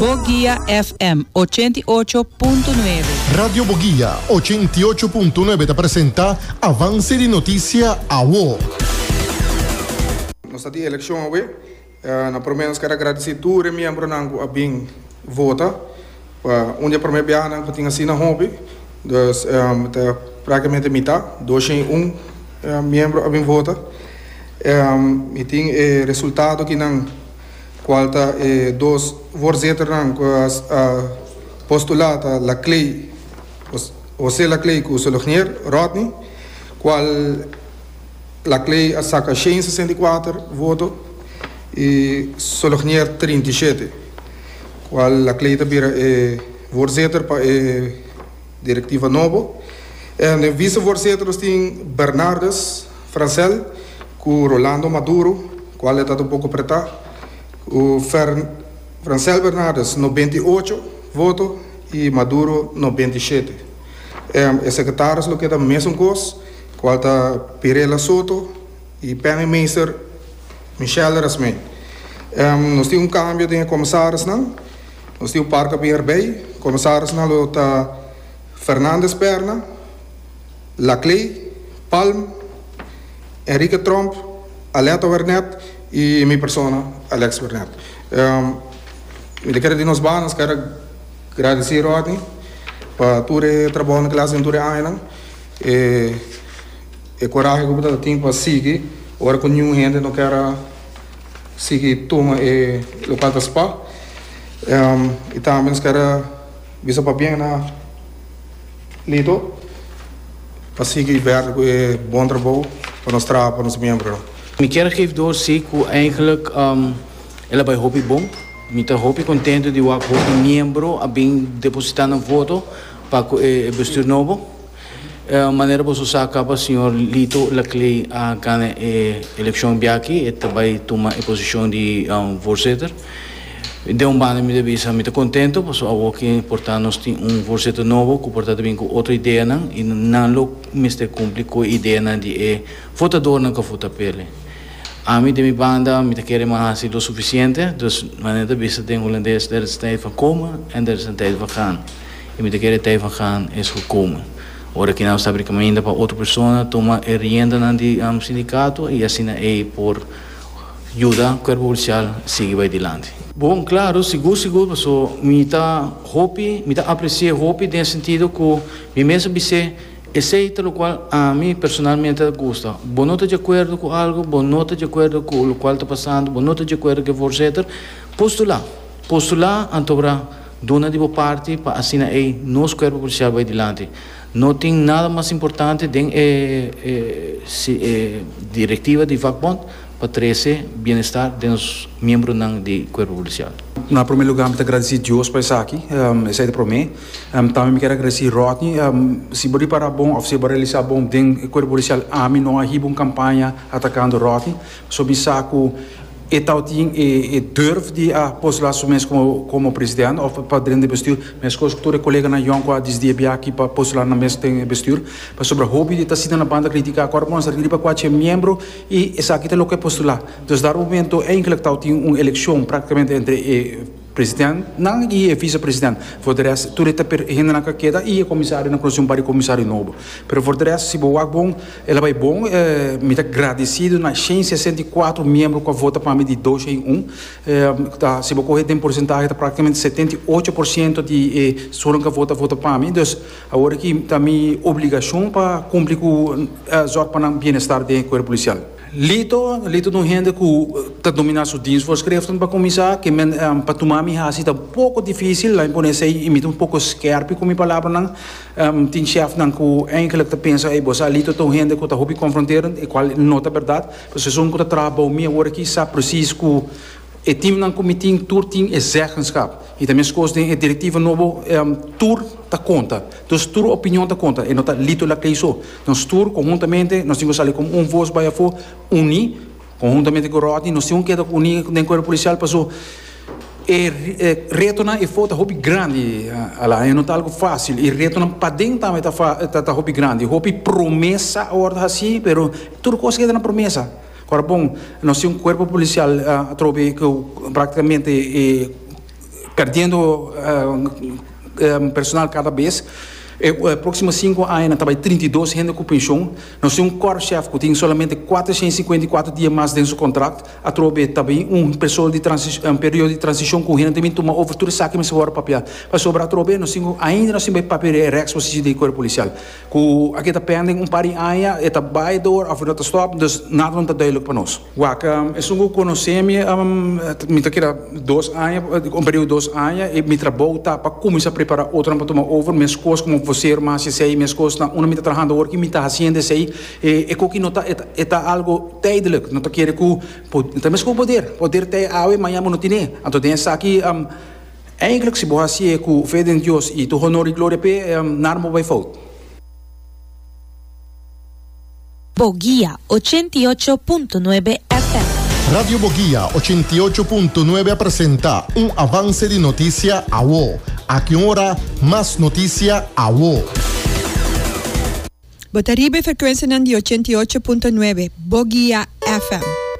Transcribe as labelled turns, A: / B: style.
A: Boguia FM 88.9.
B: Radio Boguia 88.9 ta presenta Avance di Noticia Awo.
C: Nos ta tin elekshon awe. Na promé nos ker a gradisí tur e miembronan ku a bin vota. Pa un di e promé biahanan ku tin asina hopi. Dus ta práktikamente mitá, 201 miembro a bin vota. Mi tin e resultado kinan kual ta e dos voorzitternan ku a postulá ta Laclay, José Laclay ku Solognier Rodney, kual Laclay a saka 164 voto i Solognier 37, kual Laclay ta bira e voorzitter pa e direktiva nobo. Den vicevoorzitter nos tin Bernardus Francel ku Rolando Maduro, kual e ta un poko pretá, ku Francel Bernardus 98 voto i Maduro 97. E sekretaris lo keda mesun kos. Cual ta Pirela Soto y penningmeester Michelle Rasmijn. Nos tin un cambio den e comisarisnan. Nos tin un par cu a bin erbij. Comisarisnan lo ta Fernandez Perna, Laclay, Palm, Enrique Tromp, Aletta Wernet y mi persona Alex Wernet. Mi ta kere di nos banda nos kere gradici Rodney pa tur e trabounan cu el a haci den tur e añanan. E e corahe cu bo ta tin pa sigui ora cu niun hende no kier a sigui tuma e locual ta spa. Y tambe nos kier a bisa pabien na Lito pa sigui verder cu e bon trabou pa nos traha pa nos miembronan.
D: Mi kier geef door si cu eigenlijk el a bay hopi bon. Mi ta hopi contento di wak hopi miembro a bin deposita nan voto pa cu e bestuur nobo. Manera boso sa caba señor Lito Laclay a gana e eleccion biaki, e ta bay tuma e posicion di voorzitter. Den un banda mi ta bisa mi ta contento pasobra awor ki por ta nos tin un voorzitter nobo cu por ta ta bin cu otro ideanan y nan lo mester cumpli cu e ideanan di e votadornan cu a vota p'e. Ami den mi banda mi ta kere mi a hasi lo suficiente, dus manera ta bisa den Holandes er is tijd van komen en er is een tijd van gaan. I mi ta kere tei van gaan es gekomen. Ora ki nan sta brinca mainda pa otro persona tuma e riendanan di sindikato i asina ei por yuda kuerpo polisial sigui bai dilanti. Bon, klaro, sigur sigur paso mi ta hopi, mi ta apresi'é hopi den e sentido ku mi mes a bis'é esei ta lokual ami personalmente ta gusta. Bo no ta di akuerdo ku algu, bo no ta di akuerdo ku lokual ta pasando, bo no ta di akuerdo ku e voorzitter, postulá. Postulá anto bra. Duna di bo parti pa asina ei nos Cuerpo Policial bai dilanti. No tin nada mas importante den e e directiva di vakbond pa trece bienestar den nos miembronan di Cuerpo Policial.
E: Na prome lugar mi ta gradeci Dios pa esaki, esei ta prome. Tambe mi kier a gradeci Rodney, si bo ripara bon of si bo realisa bon den Cuerpo Policial ami no a hiba un campaña atacando Rodney, pasobra mi sa cu E tabatin e durf di a postulá su mes komo komo president òf pa drenta e bestuur, meskos ku tur e koleganan yòn ku a disidi e biaha aki pa postulá nan mes den e bestuur. Pasobra hopi di ta sinta na banda kritiká ku ora bo mester riba kuache miembro i esaki ta loke a postulá. Dus dar momento eindelijk tabatin un elekshon praktikamente entre e presidentnan i e visepresident. For de rest tur e ta hendenan ku a keda i e komisarionan ku nos tin un par di komisario nobo. Pero for de rest si bo wak bon. El a bai bon. Mi ta gradesido na 164 miembro ku a vota pa mi di 201. Ta, si bo kohe den porsentahe ta praktikamente 78% di e esunnan ku a vota, vota pa mi. Dus awor aki ta mi obligashon pa kumpli ku zòrg pa nan bienestar den e kuerpo polisial. Lito, Lito ta un hende ku ta dominá su dienstvoorschriften pa kuminsá, ke men pa tuma mi hasi ta un poko difísil, laat mi pone esei, i mi ta un poko skèrpi ku mi palabranan. Tin chefnan ku eindelijk ta pensa, ey bo sa Lito ta un hende ku ta hopi konfronterend, e kual no ta bèrdat. Pasobra esun ku ta traha bou mi awor aki sa presis ku e teamnan ku mi tin tur tin e zeggenschap. I ta meskos den e direktiva nobo, tur ta konta. Dus tur opinion ta konta, e no ta Lito Laclay so. Nos tur konhuntamente nos tin ku sali komo un vos bai afó, uní. Konhuntamente ku Rodney nos tin un keda uní den kuerpo polisial paso e retonan efo ta hopi grandi ala e no ta algu fásil i retonan paden tambe ta ta hopi grandi hopi promesa a wòrdu hasí pero tur kos keda na promesa ora bon nos tin un kuerpo polisial atrobe ku praktikamente e. Perdiendo personal cada bes. E proximo cinco aña nan ta bay 32 hende cu pension. Nos tin un korpschef cu tin solamente 454 dia mas den su contract. Atrobe ta bin un persoa di un periodo di transicion cu hende ta bin tuma over tur esaki mester worde papia. Pasobra atrobe nos tin cu ainda nos tin bay papia di e rechtspositie di e cuerpo policial. Cu aki ta pending un par di aña e ta bay door of e no ta stop dus nada no ta duidelijk pa nos. Wak, esun ku konosé mi, mi ta keda dos aña, un periodo di dos aña, i mi trabou ta pa kuminsá prepará otronan pa tuma over, meskos komo voser mi hasi esei, meskos na unda mi ta trahando awor ki mi ta hasiendo esei, e koki no ta, e ta algu tijdelijk, no ta kere ku, ta meskos poder, poder ta e awe, mañana bo no tine, anto den esaki, eigenlijk si bo hasié ku fe den Dios i tur honor i gloria p'e, nada no por bai fout.
F: Boguia 88.9 FM.
B: Radio Boguia 88.9 a presenta un avance di noticia awo. Aki un ora, mas noticia awo.
G: Bo ta riba e frekuensianan di 88.9 Boguia FM.